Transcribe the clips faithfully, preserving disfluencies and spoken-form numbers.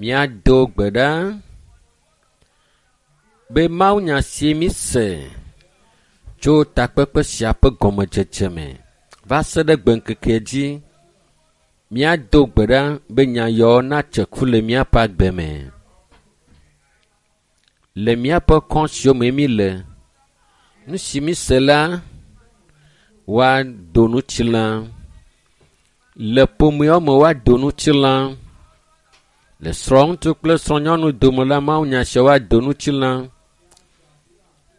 Míado gbe ɖa be mawunya si míse tso takpekpe sia ƒe gɔmedzedze me va se ɖe gbeŋkekea dzi. Míado gbe ɖa be nya yawo natse ku le míaƒe agbe me. Le míaƒe kɔ siwo me míle, nu si míse la, woado ŋutilã. Le ƒomeawo me woado ŋutilã. Le srɔ̃ŋutsu kple srɔ̃nyɔnu dome la, mawunya sia woado ŋutilã.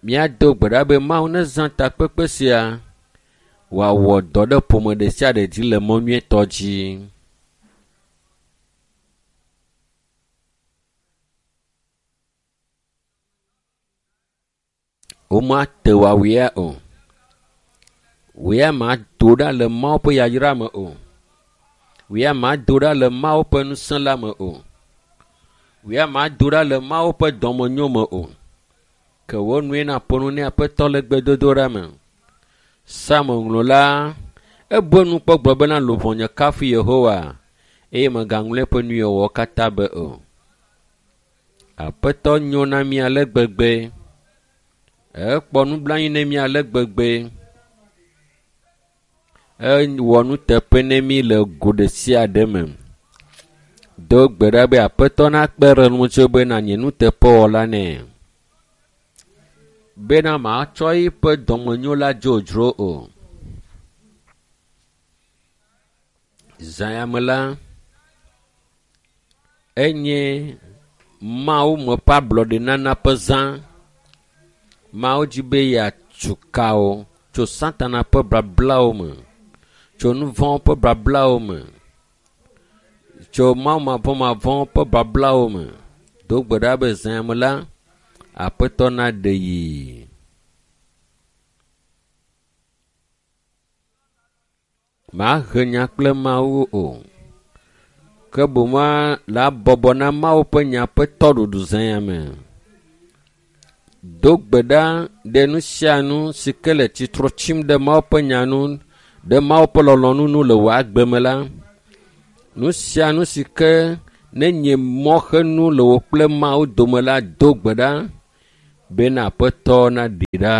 Míado gbe ɖa be Mawu nezã takpekpe sia wòawɔ dɔ ɖe ƒome ɖe sia ɖe dzi le mɔ nyuietɔ dzi. Womate wòawɔe o. Wòya mado ɖa le Mawu ƒe yayra me o. Wòya mado ɖa le Mawu ƒe ŋusẽ la me o. Wòya mado ɖa le Mawu ƒe dɔmenyo me o. Ke wo nue naƒo nu ne Aƒetɔ le gbedodoɖa me. Psalmo la, ebu enu kpɔ gblɔ bena luʋɔnye kafu Yehowa eye megaŋlɔ eƒe nuwɔwɔwo katã be o. Aƒetɔ nyo na mí ale gbegbe. Ekpɔ nublanui ne mí ale gbegbe. Ewɔ nuteƒe ne mí le go ɖe sia ɖe me. Do gbe ɖa be Aƒetɔ nakpe ɖe ŋutiwò be nànye nuteƒewɔla nɛ. Bena matsɔ eƒe dɔmenyo la dzodzro o. Zã ya me la, enye Mawu me ƒe ablɔɖenana ƒe zã. Mawu dzi be yeatu ka wo tso Satana ƒe bablawo me, tso nu vɔ̃wo ƒe bablawo me, tso Mawu mavɔmavɔ ƒe bablawo me. Do gbe ɖa be zã ya me la, Aƒetɔ naɖe yi. Mahe nya kple Mawu o. Ke boŋ la bɔbɔ na Mawu ƒe nya ƒe tɔɖuɖu zã ya me. Do gbe ɖa ɖe nu sia nu si ke le tsitre tsim ɖe Mawu ƒe nya nu, ɖe Mawu ƒe lɔlɔ̃nu nu le wò agbe me la. Nu sia nu si ke nenye mɔxenu le wò kple Mawu dome la, do gbe ɖa bena Aƒetɔ naɖee ɖa.